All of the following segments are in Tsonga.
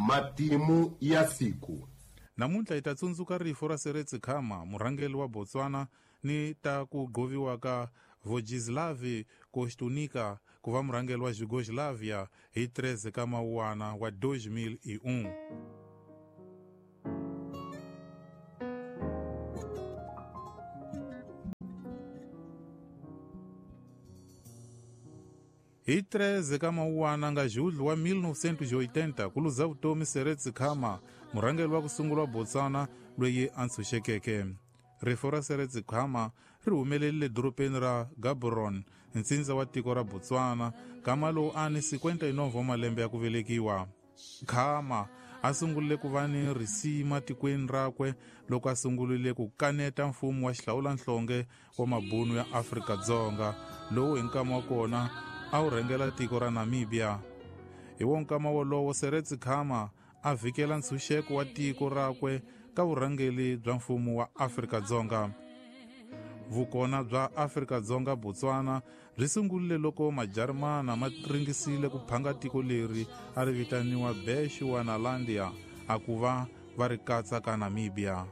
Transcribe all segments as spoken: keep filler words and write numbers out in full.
Matimu ya siku. Namuntlha hi ta tsundzuka rifu ra Seretse Khama, murhangeri wa Botswana, ni ta ku gqoviwa ka Vojislav Koštunica ku va murhangeri wa Yugoslavia hi treze ka Mawuwana wa dois mil e um. Hi treze ka Mawuwana nga julho wa mil novecentos e oitenta ku luza vutomi Seretse Khama, murhangeri wa ku sungula wa Botswana loyi a ntshunxekeke. Rifu ra Seretse Khama ri humelerile dorobeni ra Gaborone, ntsindza wa tiko ra Botswana, kama lowu a ni cinquenta e nove wa malembe ya ku velekiwa. Khama a sungurile ku va ni risima tikweni rakwe loko a sungurile ku kaneta mfumo wa xihlawulanhlonge wa mabunu ya Afrika-Dzonga, lowu hi nkama wa kona a wu rhangela tiko ra Namibia. Hi wo nkama wolowo Seretse Khama a vhikela ntshunxeko wa tiko rakwe ka vurhangeri bya mfumo wa Afrika-Dzonga. Vukona bya Afrika-Dzonga Botswana byi sungurile loko Majarimana ma ringisile ku phanga tiko leri a ri vitaniwa Bechuanalandia a ku va va ri katsa ka Namibia.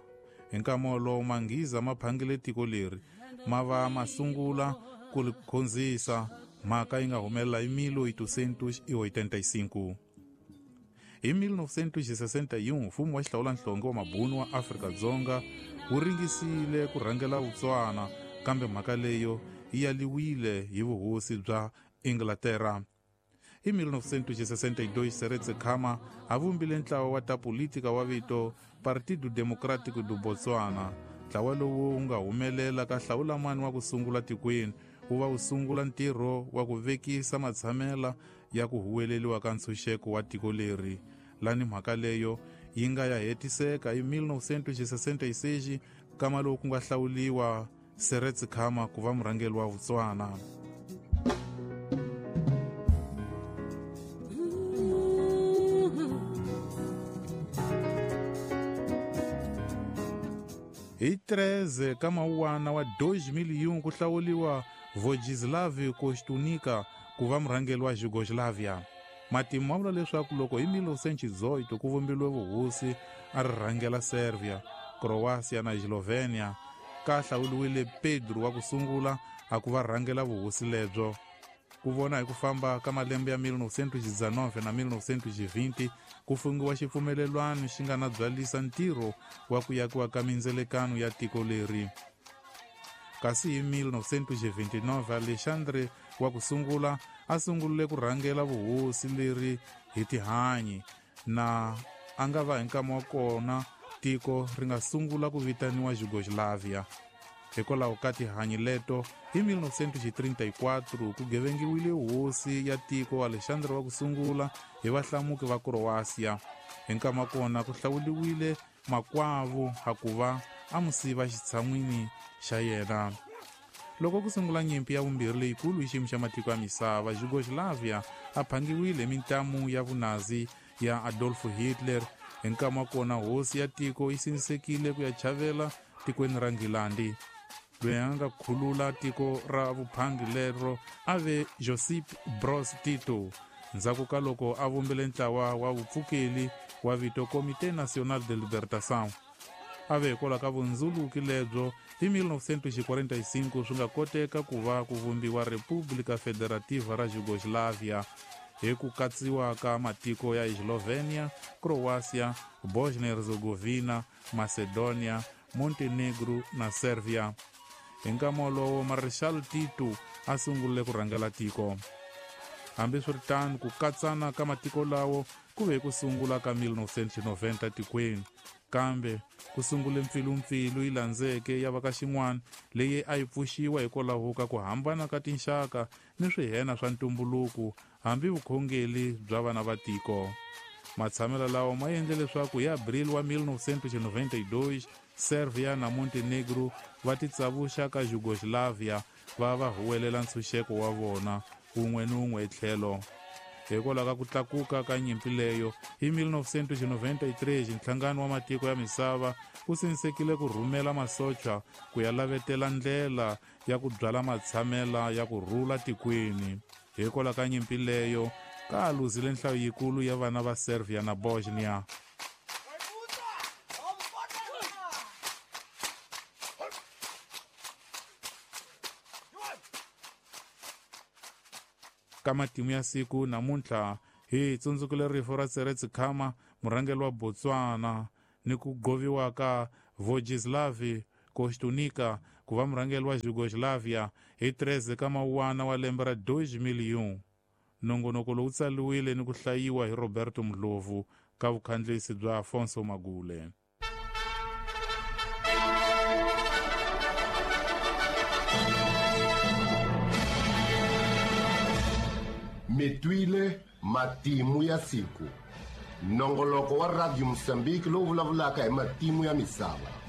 Hi nkama wolowo Manghiza ma phangile tiko leri ma va ma sungula ku ri khonzisa, mhaka yi nga humelela hi mil oitocentos e oitenta e cinco. Hi mil novecentos e sessenta e um, mfumo wa xihlawulanhlonge wa mabunu wa Afrika-Dzonga wu ringisile ku rhangela Botswana, kambe mhaka leyo yi yaliwile hi vuhosi bya Inglaterra. Hi mil novecentos e sessenta e dois, Seretse Khama a vumbile ntlawa wa ta politika wa vito Partido Democrático do Botswana. Ntlawa lowu wu nga humelela ka hlawulamani wa ku sungula tikweni, wu va wu sungula ntirho wa ku vekisa matshamela ya ku huweleliwa ka ntshunxeko wa tiko leri. Lani mhaka leyo yi nga ya hetiseka hi mil novecentos e sessenta e seis, kama lowu ku nga hlawuliwa Seretse Khama ku va murhangeri wa Botswana. Hi treze ka Mawuwana wa dois mil e um ku hlawuliwa Vojislav Koštunica ku va murhangeri wa Yugoslavia. Matimu ma vula leswaku loko hi mil novecentos e dezoito ku vumbiwe vuhosi a ri rhangela Serbia, Croatia na Slovenia, ka hlawuliwile Pedro wa ku sungula a ku va rhangela vuhosi lebyo. Ku vona hi ku famba ka malembe ya mil novecentos e dezenove na mil novecentos e vinte ku fungiwa xipfumelelwano xi nga na byalisa ntirho wa ku yakiwa ka mindzelekano ya tiko leri. Kasi hi mil novecentos e vinte e nove, Alexandre wa ku sungula a sungurile ku rhangela vuhosi leri hi tihanyi, na a nga va hi nkama wa kona tiko ri nga sungula ku vitaniwa Yugoslavia. Hikwalaho ka tihanyi leto, hi mil novecentos e trinta e quatro ku gevengiwile hosi ya tiko Alexandre wa ku sungula hi vahlamuki va Croatia. Hi nkama kona ku hlawuliwile makwavo a ku va a musiva xitshan'wini xa yena. Loko ku sungula nyimpi ya vumbirhi leyikulu hi xiyimo xa matiko ya misava, Yugoslavia a phangiwile mintamu ya vunazi ya Adolf Hitler. Hi nkama wa kona hosi ya tiko yi sindzisekile ku ya chavela tikweni ra Nghilandi. Loyi a nga khulula tiko ra vuphangi lero a ve Josip Broz Tito, ndzhaku ka loko a vumbile ntlawa wa vupfukeli wa vito Comité Nacional de Libertação. A ve hikwalaho ka vundzuluki lebyo hi mil novecentos e quarenta e cinco swi nga koteka ku va ku vumbiwa República Federativa ra Yugoslavia hi ku katsiwa ka matiko ya Slovenia, Croatia, Bosnia-Herzegovina, Macedonia, Montenegro na Serbia. Hi nkama wolowo Marshal Tito a sungurile ku rhangela tiko. Hambiswiritano, ku katsana ka matiko lawo ku ve ku sungula ka mil novecentos e noventa tikweni, kambe ku sungule mpfilumpfilu yi landzeke ya va ka xin'wana leyi a yi pfuxiwa hikwalaho ka ku hambana ka tinxaka ni swihena swa ntumbuluko hambi vukhongeri bya vana va tiko. Matshamelo lawa ma endle leswaku hi Abril wa mil novecentos e noventa e dois Serbia na Montenegro va titsavuxa ka Yugoslavia va va huwelela ntshunxeko wa vona wun'we ni wun'we etlhelo. Hikwalaho ka ku tlakuka ka nyimpi leyo, hi mil novecentos e noventa e três nhlangano wa matiko ya misava wu sindzisekile ku rhumela masocha ku ya lavetela ndlela ya ku byala matshamela ya ku rhula tikweni. Hikwalaho ka nyimpi leyo, Ka ha luzile nhlayo yikulu ya vana va Servia na Bosnia. Ka matimu ya siku namuntlha hi tsundzukile rifu ra Seretse Khama, murhangeri wa Botswana, ni ku goviwa ka Vojislav Koštunica ku va murhangeri wa Yugoslavia hi treze ka mawuwana wa lembe ra two thousand. Nongonoko lowu tsariwile ni ku hlayiwa hi Roberto Ndlovu ka vukhandlisi bya Afonso Magule. Mi twile matimu ya siku. Nongoloko wa Radio Mozambique lowu vulavulaka hi matimu ya misava.